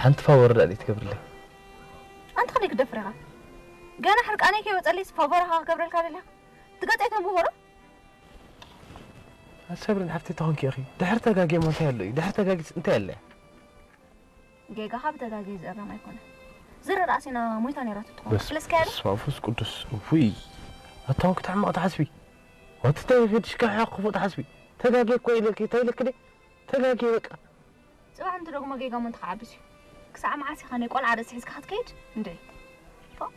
ሓንቲ ፋወር ዳኣ ትገብርለይ። ኣንተ ከመይ ክትደፍር ኢኻ? ገና ሕርቃነይ ከይወጸለይስ ፋወር ኢኻ ክገብረልካ ደሊኻ? ትገጸይ ተንብቦ ዶ? ሰብሪን ሓፍተይ ተኾንኪ ኢኺ። ድሕሪ ተጋግየ እሞ እንታይ ኣሎ እዩ? ድሕሪ ተጋግየስ እንታይ ኣለ? ጌጋኻ ብተጋግየ ዝእረም ኣይኮነን። ዝረ ራእሲና ሞይታ ነይራ ትትኾን። በስ-፣ ስለስከ ያለ? በስመ ኣብ ወመንፈስ ቅዱስ። ውይ። ኣታውን ክትሕመቕ ትሓስቢ? ዋትታይ ፌድሽካ ክፉእ ትሓስቢ? ተጋግየ እኮ ኢለኪ፣ እንታይ ኢለኪ ደይ? ተጋግየ በቃ። ጽባሕ እንትደግሞ ጌጋ እሞ እንትኸዓብስ እዩ። ክሳዕ መዓስ ኢኻ ናይ ቆልዓ ርእሲ ሒዝካ ክትከይድ? እንደ ፎእ።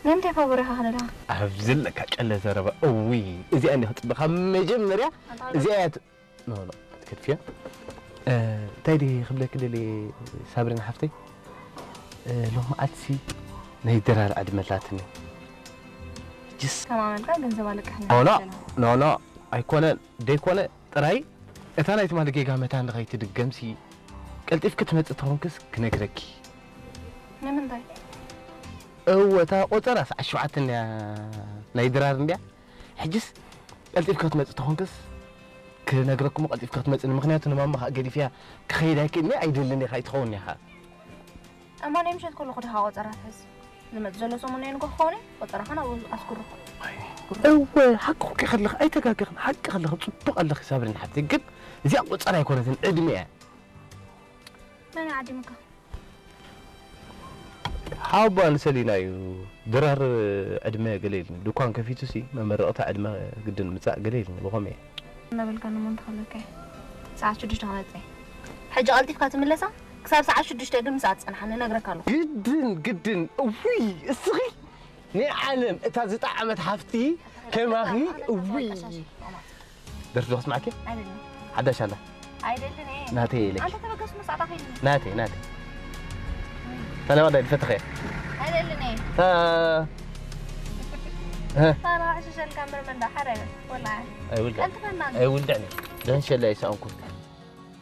ንምንታይ ፋቦሪኻ ከለኻ? ኣብ ዘለካ ጨለ ዘረባ። እውይ፣ እዚኣ እንዲ ክጽበኻ መጀመርያ፣ ኣንታ እዚኣ እያ ት-፣ ኖ፣ ኖ፣ ክትከድፍያ። እ፣ እንታይ ድየ ክብለኪ ደልየ ሳብሪና ሓፍተይ? እ፣ ሎማዓትሲ ናይ ድራር ዕድመ ኣላትኒ። ሕጅስ ተማመንካ ገንዘብ ኣለቃሕና ኖ፣ ኖ፣ ይባላል። ኖ፣ ኖ፣ ኣይኮነን፣ ደይኮነ ጥራይ እታ ናይ ትማሊ ጌጋ መታን ንኸይትድገምሲ ቀልጢፍኪ ትመጽእ ተኾንክስ ክነግረኪ። ንምንታይ? እወ፣ እታ ቆጸራ ሰዓት ሸውዓተ እንድያ ናይ ድራር እንድያ። ሕጅስ ቀልጢፍኪ ክትመጽእ ተኾንክስ ክነግረኪ እሞ ቀልጢፍኪ ክትመጽእኒ፣ ምኽንያቱ ንማማ ኸኣ ገዲፍያ ክኸይድ ኣይክእልኒ፣ ኣይደልን እየ፣ ኣይትኸውን እያ ኸኣ። እሞ ናይ ምሸት ከለኹ ድኻ ቆጸራ ትሕዝ? ዝመጽእ ዘሎ ሰሙን ናይ ንግሆ ክኸውን እዩ፣ ቆጸራኻ ናብኡ ኣስጉሮ። እወ፣ ሓቂ ኮንኪ ከለኺ ኣይተጋገኽን፣ ሓቂ ከለኺ ጽቡቕ ኣለኺ ሳብሪን ሓፍተይ፣ ግን እዚኣ ቆጸራ ኣይኮነትን፣ ዕድመ እያ። መን እዩ ዓዲሙካ? ሓወቦኣ ንሰሊና እዩ። ድራር ዕድመ ገለ ኢልኒ። ድኳን ከፊቱሲ መመረቕታ ዕድመ ግድን ምጻእ ገለ ኢልኒ። ብኸመይ እየ? እናበልካኒ እሞ እንተኸለካ እየ። ሰዓት ሽዱሽተ ክመጽእ እየ። ሕጂ ቀልጢፍካ ትምለሳ? ክሳብ ሰዓት ሽዱሽተ ግን ምስኣ ትጸንሓኒ እነግረካ ኣለኹ። ግድን፣ ግድን። እውይ፣ እስኺ ናይ ዓለም እታ ዝጠዓመት ሓፍቲ ከማኺ፣ እውይ። ደርፊ ዶ ከስምዓኪ? ኣይደልን። ሓዳሽ ኣላ። ኣይደልን እየ። ናተይ ኢለኪ። ኣንተ ተበገስ መሳዕዳ ከይድኒ። ናተይ፣ ናተይ። እታ ናይ ዋዳ ድፈተኸ? ኣይደልን እየ። እታ እ? ኣታ ንዓይ ሽሸልካ እምበር መንዳ ሓደ ወላ። ኣይውልዳ። ቀልጥፈና። ኣይውልዳን እየ። ደህን ሸላ ይሰኣንኩ።